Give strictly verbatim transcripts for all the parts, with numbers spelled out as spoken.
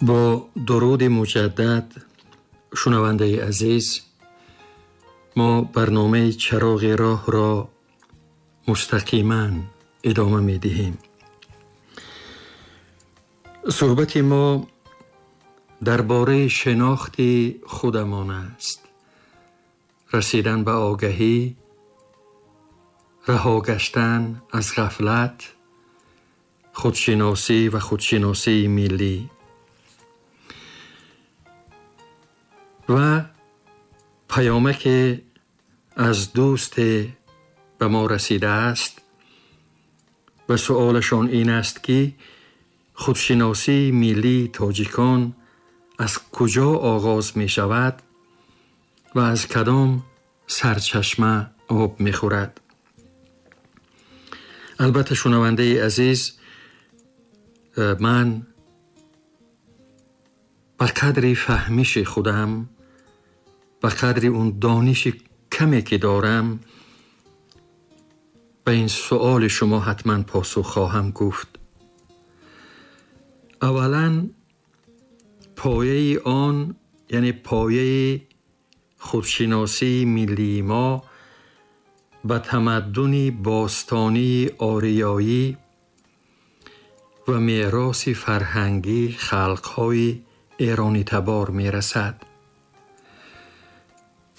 Бо дуруди муҷаддад, шунавандаи азиз, мо барномаи Чароғи роҳро мустақиман идома медиҳем. Суҳбати мо дар бораи шинохти худамон аст. Расидан ба огаҳӣ, раҳо гаштан аз ғафлат, худшиносӣ ва худшиносии миллӣ ва паёмаке аз дӯсте ба мо расидааст ва суолашон ин аст, ки худшиносии миллии тоҷикон аз куҷо оғоз мешавад ва аз кадом сарчашма об мехӯрад. Албатта, шунавандаи азиз, ман ба қадри фаҳмиши худам, ба қадри он дониши каме ки дорам, ба ин суоли шумо ҳатман посух хоҳам гуфт. Аввалан, пояи он, яъне пояи худшиносии миллии мо ба тамаддуни бостонии ориёӣ ва мероси фарҳангии халқҳои эронитабор мерасад.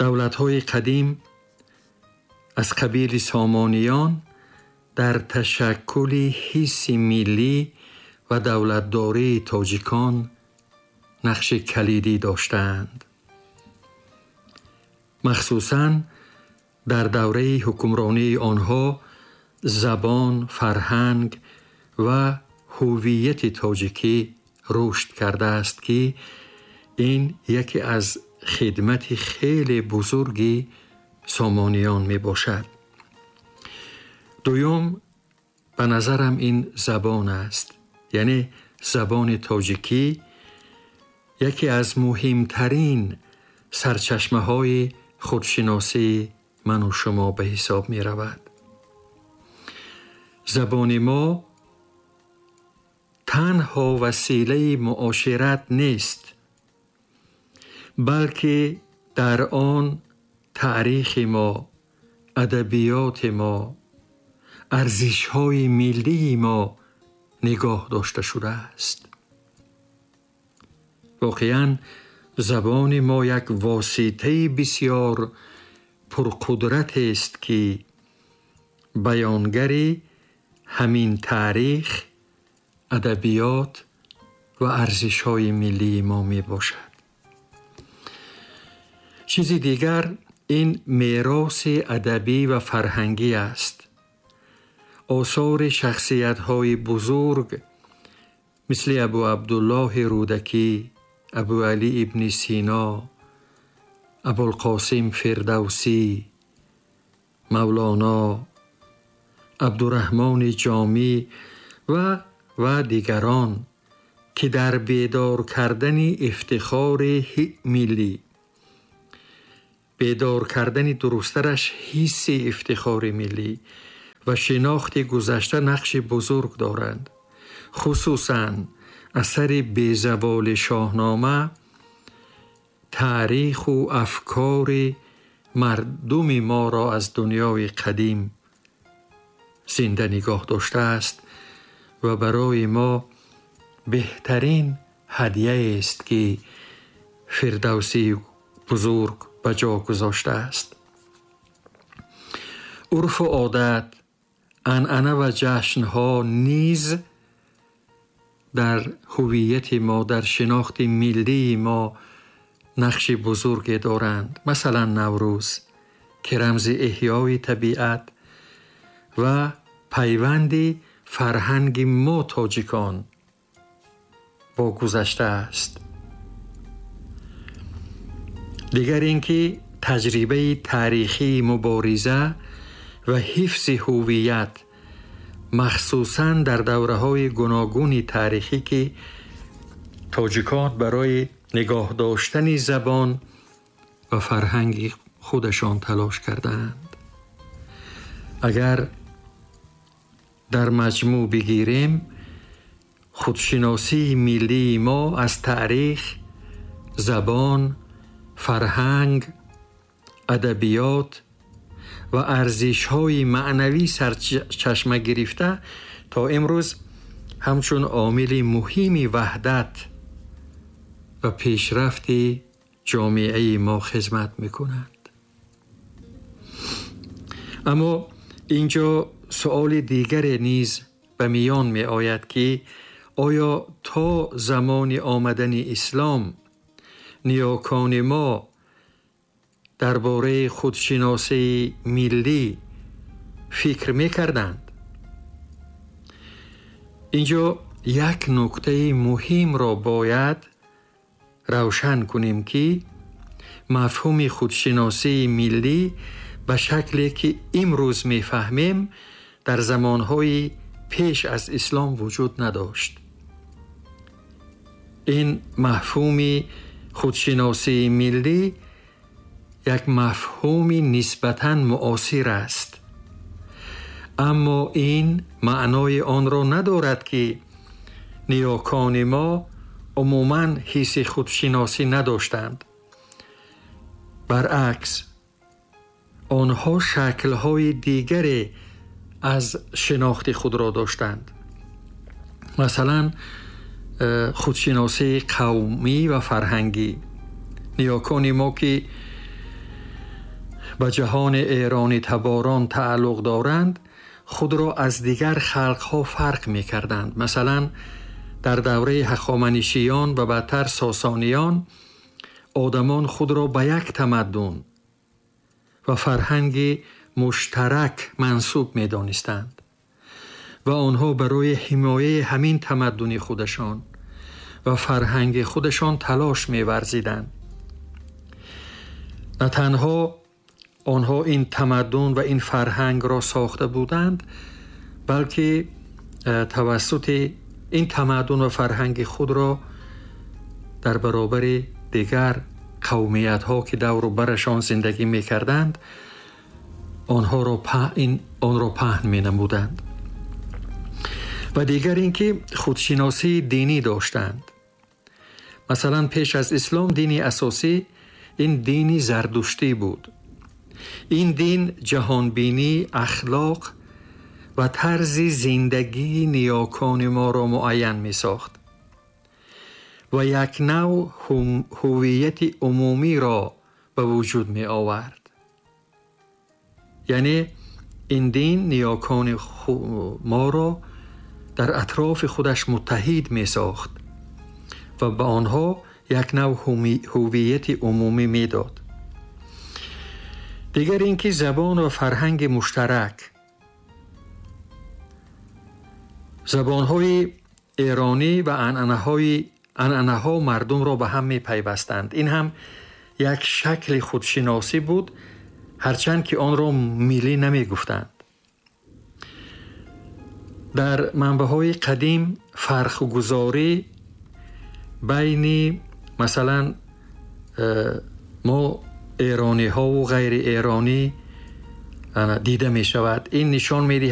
Давлатҳои қадим аз қабили Сомониён дар ташаккули ҳисси миллӣ ва давлатдории тоҷикон нақши калидӣ доштаанд. Махсусан дар давраи ҳукмронии онҳо забон, фарҳанг ва ҳувияти тоҷикӣ рушд кардааст, ки ин яке аз хидмати хеле бузурги Сомониён мебошад. Дуюм, ба назарам ин забон аст, яъне забони тоҷикӣ яке аз муҳимтарин сарчашмаҳои худшиносии ману шумо ба ҳисоб меравад. Забони мо танҳо василаи муошират нест, балки дар он таърихи мо, адабиёти мо, арзишҳои миллии мо нигоҳ дошта шудааст. Воқеан забони мо як воситаи бисёр пурқудрат аст, ки баёнгари ҳамин таърих, адабиёт ва арзишҳои миллии мо мебошад. Чизи дигар ин мероси адабӣ ва фарҳангӣ аст. Осори шахсиятҳои бузург мисли Абу Абдуллоҳи Рӯдакӣ, Абу Алӣ ибни Сино, Абулқосим Фирдавсӣ, Мавлоно, Абдураҳмони Ҷомӣ ва ва дигарон, ки дар бедор кардани ифтихори миллӣ, бедор кардани дурусттараш ҳисси ифтихори миллӣ ва шинохти гузашта нақши бузург доранд. Хусусан асари безаволи Шоҳнома таъриху афкори мардуми моро аз дунёи қадим зинда нигоҳ доштааст ва барои мо беҳтарин ҳадияест, ки Фирдавсии бузург ба ҷо гузоштааст. Урфу одат, анъана ва ҷашнҳо низ дар ҳувияти мо, дар шинохти миллии мо нақши бузурге доранд. Масалан, Наврӯз, ки рамзи эҳёи табиат ва пайванди фарҳанги мо тоҷикон бо гузашта аст. Дигар ин ки таҷрибаи таърихии мубориза ва ҳифзи ҳувият, махсусан дар давраҳои гуногуни таърихӣ, ки тоҷикон барои нигоҳ доштани забон ва фарҳанги худашон талош кардаанд. Агар дар маҷмӯъ бигирем, Худшиносии миллии мо аз таърих, забон, фарҳанг, адабиёт ва арзишҳои маънавӣ сарчашма гирифта то имрӯз ҳамчун омили муҳими ваҳдат ва пешрафти ҷомеаи мо хизмат мекунад. Аммо инҷо суоли дигаре низ ба миён меояд, ки оё то замони омадани ислом ниёкони мо дар бораи худшиносии миллӣ фикр мекарданд? Инҷо як нуктаи муҳимро бояд равшан кунем, ки мафҳуми худшиносии миллӣ ба шакле ки имрӯз мефаҳмем дар замонҳои пеш аз ислом вуҷуд надошт. Ин мафҳуми худшиносии миллӣ як мафҳуми нисбатан муосир аст, аммо ин маънои онро надорад, ки ниёкони мо умуман ҳисси худшиносӣ надоштанд. Баръакс, онҳо шаклҳои дигаре аз шинохти худро доштанд. Масалан, худшиносии қавмӣ ва фарҳангӣ. Ниёкони мо, ки ба ҷаҳони эронӣ таборон тааллуқ доранд, худро аз дигар халқҳо фарқ мекарданд. Масалан, дар давраи ҳахоманишиён ва баъдтар сосониён одамон худро ба як тамаддун ва фарҳанги муштарак мансуб медонистанд ва онҳо барои ҳимояи ҳамин тамаддуни худашон ва фарҳанги худашон талош меварзиданд. На танҳо онҳо ин тамаддун ва ин фарҳангро сохта буданд, балки тавассути ин тамаддун ва фарҳанги худро дар баробари дигар қавмиятҳо, ки давру барашон зиндагӣ мекарданд, онҳоро онро паҳн менамуданд. Ва дигар ин ки худшиносии динӣ доштанд. Масалан, пеш аз ислом дини асосӣ ин дини зардуштӣ буд. Ин дин ҷаҳонбинӣ, ахлоқ ва тарзи зиндагии ниёкони моро муайян месохт ва як нав ҳувияти умумиро ба вуҷуд меовард. Яъне ин дин ниёкони моро дар атрофи худаш муттаҳид месохт ва ба онҳо як нав ҳувияти умумӣ медод. Дигар ин ки забон ва фарҳанги муштарак. Забонҳои эронӣ ва анъанаҳои анъанаҳо мардумро ба ҳам мепайвастанд. Ин ҳам як шакли худшиносӣ буд, ҳарчанд ки онро миллӣ намегуфтанд. Дар манбаъҳои қадим фарқгузорӣ байни масалан мо эрониҳову ғайри эронӣ дида мешавад. Ин нишон медиҳад